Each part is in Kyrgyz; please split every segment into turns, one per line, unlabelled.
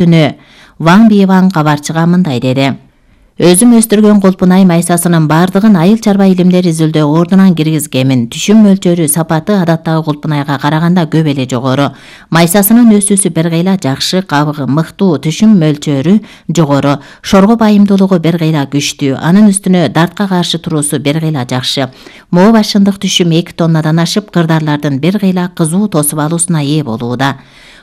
күнү Ван Биван кабарчыга мындай деди. Өзүм өстүргөн колпунай майсасынын бардыгын айыл чарба илимдер изилдөө ордунан киргизгемин. Түшүм мөлчөрү, сапаты адаттагы колпунайга караганда көп эле жогору. Майсасынын өсүүсү бир кыйла жакшы, кабыгы мыктуу, түшүм мөлчөрү жогору, шорго байымдуулугу бир кыйла күчтүү, анын үстүнө дартка каршы туруусу бир кыйла жакшы. Моо башындык түшүм 2 тоннадан ашып, кырдарлардын бир кыйла кызуу тосуп алуусуна ээ болууда.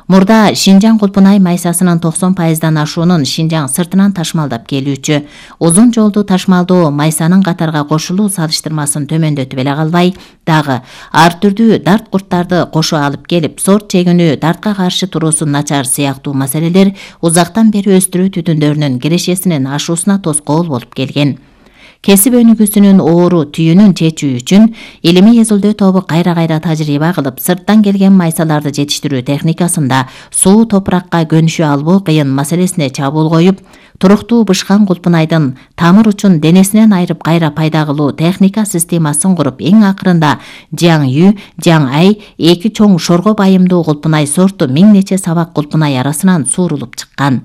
Мурда Шинжаң колпунай майсасынын 90%дан ашуунун Шинжаң сыртынан ташмалдап келүүчү. Узун жолду ташмалдоо майсанын катарга кошулуу салыштырмасын төмөндөтүп эле калбай, дагы ар түрдүү дарт курттарды кошо алып келип, сорт чегүнүү, дартка каршы туруусу начар сыяктуу маселелер узактан бери өстүрүү түтүндөрүнүн кирешесинин ашуусуна тоскоол болуп келген. Кесип өнүгүүсүнүн оору түйүнүн чечүү үчүн илимий изилдөө тобу кайра тажрыйба кылып, сырттан келген майсаларды жетиштирүү техникасында суу топуракка көнүшө албоо кыйын маселесине чабуул коюп, туруктуу бышкан колпунайдын тамыр учун денесинен айырып кайра пайда кылуу техника системасын куруп, эң акырында Жаң Ю, Жаң Ай 2 чоң шорго байымдуу колпунай сорту 1000 нече сабак колпунай арасынан суурулуп чыккан.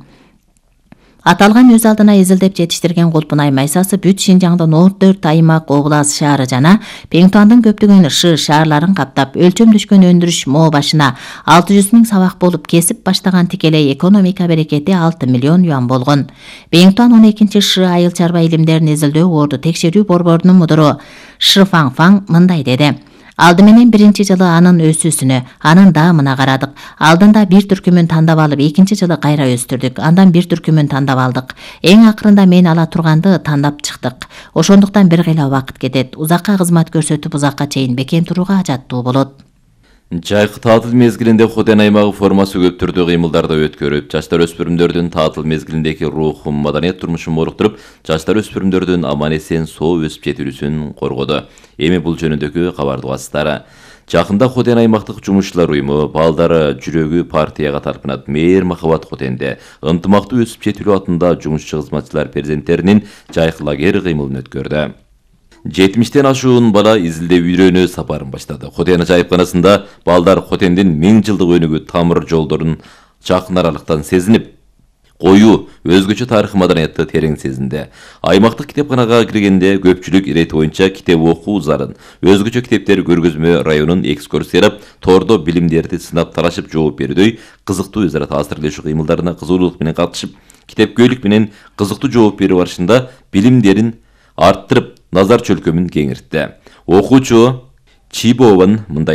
Аталган өз алдына изилдеп жетиштирген колпунай майсасы бүт Шинжаңдын 14 аймак, облас, шаары жана Пеңтуандын көптөгөн шаарларын каптап, өлчөмдөшкөн өндүрүш моо башына 600 000 сабак болуп, кесип баштаган тикелей экономика берекети 6 миллион юан болгон. Пеңтуан 12 айыл чарба илимдерин изилдөө орду текшерүү борборунун мудуру Шы Фаң мындай деди. Алды менен 1-жылы анын өсүүсүнө, анын даамына карадык. Алдында бир түркүмүн тандап алып, 2-жылы кайра өстүрдүк. Андан бир түркүмүн тандап алдык. Эң акырында мен ала турганды тандап чыктык. Ошондуктан бир кыйла убакыт кетет. Узакка кызмат көрсөтүп, узакка чейин бекем турууга ажаттуу болот.
Жайкы таатыл мезгилинде Хотен аймагы формасы көп түрдүү кыймылдарды өткөрүп, жаштар өспүрүмдөрдүн таатыл мезгилиндеги рухун, маданият турмушун моруктуруп, жаштар өспүрүмдөрдүн аман-эсен соо өсүп жетилүүсүн коргоду. Эми бул жөнүндөгү кабарды угасыздар. Жакында Хотен аймактык жумушчулар уюму балдары жүрөгү партияга тарпынат мээр Махабат Хотенде ынтымактуу өсүп жетилүү атында жумушчу кызматчылар перзенттеринин жайкы лагерь кыймылын өткөрдү. 70-тен ашуун бала изилдөө үйрөнүү сапарын баштады. Хотен жайыпканасында балдар Хотендин 1000 жылдык өнүгүү тамыр жолдорун жакын аралыктан сезинип, коюу өзгөчө тарых маданиятты терең сезинди. Аймактык китепканага киргенде көпчүлүк ирети боюнча китеп окуу зарын, өзгөчө китептер көргөзмө районун экскурсиялап, тордо билимдерди сынап талашып жооп берүүдөй кызыктуу өзара таасирлешүү кыймылдарына кызуулук менен катышып, китепкөйлүк менен кызыктуу жооп берүү барышында билимдерин арттырып, назар чөлкөмүн кеңиртти. Окуучу Чибован мындай